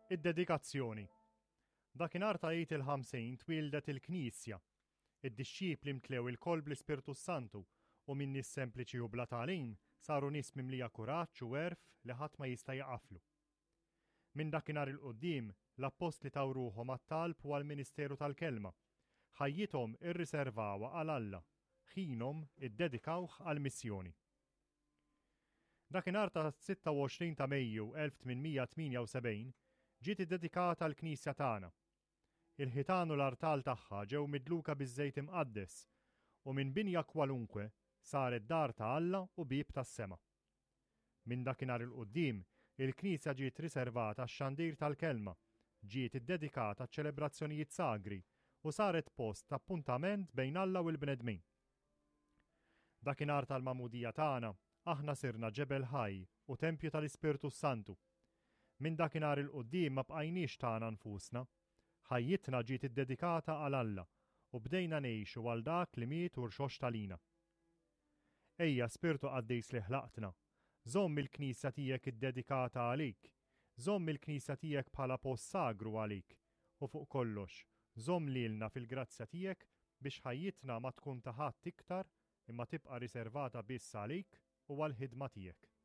Id-dedikazzjoni. Dakinhar ta' Għid il-50 twieldet il-Knisja. Id-dixxipli mtlew ilkoll bl-Ispirtu s-Santu u minn nies sempliċi u bla tagħlim saru nies mimlija kuraġġ u għerf li ħadd ma jista' jaqaflu. Minn dakinhar 'il quddiem, l-appostli taw ruħhom għat-talb u għall-ministeru tal-kelma. Ħajjithom irriservawha għal Alla, ħinhom iddedikawh għall-missjoni. Dakinhar ta' 26 ta' Mejju 1878 ġiet iddedikata l-knisja tagħna. Il-ħitan u l-artal tagħha ġew midluka biż-żejt imqaddes u minn binja kwalunkwe saret dar ta' Alla u bieb tas-sema. Minn dakinhar 'il quddiem, il-knisja ġiet riservata għax-xandir tal-kelma, ġiet iddedikata għaċ-ċelebrazzjonijiet sagri u saret post ta' appuntament bejn Alla u l-bnedmin. Dakinhar tal-magħmudija tagħna, aħna sirna ġebel ħaj u tempju tal-Ispirtu s-Santu. Minn dakinhar 'il quddiem ma bqajniex tagħna nfusna. Ħajjitna ġiet iddedikata għal Alla u bdejna ngħixu għal dak li miet u rxoxt għalina. Ejja, Spirtu Qaddis li ħlaqtna, żomm il-Knisja tiegħek iddedikata għalik, żomm il-Knisja tiegħek bħala post sagru għalik, u fuq kollox, żomm lilna fil-grazzja tiegħek biex ħajjitna ma tkun ta' ħadd iktar imma tibqa' riservata biss għalik u għall-ħidma tiegħek.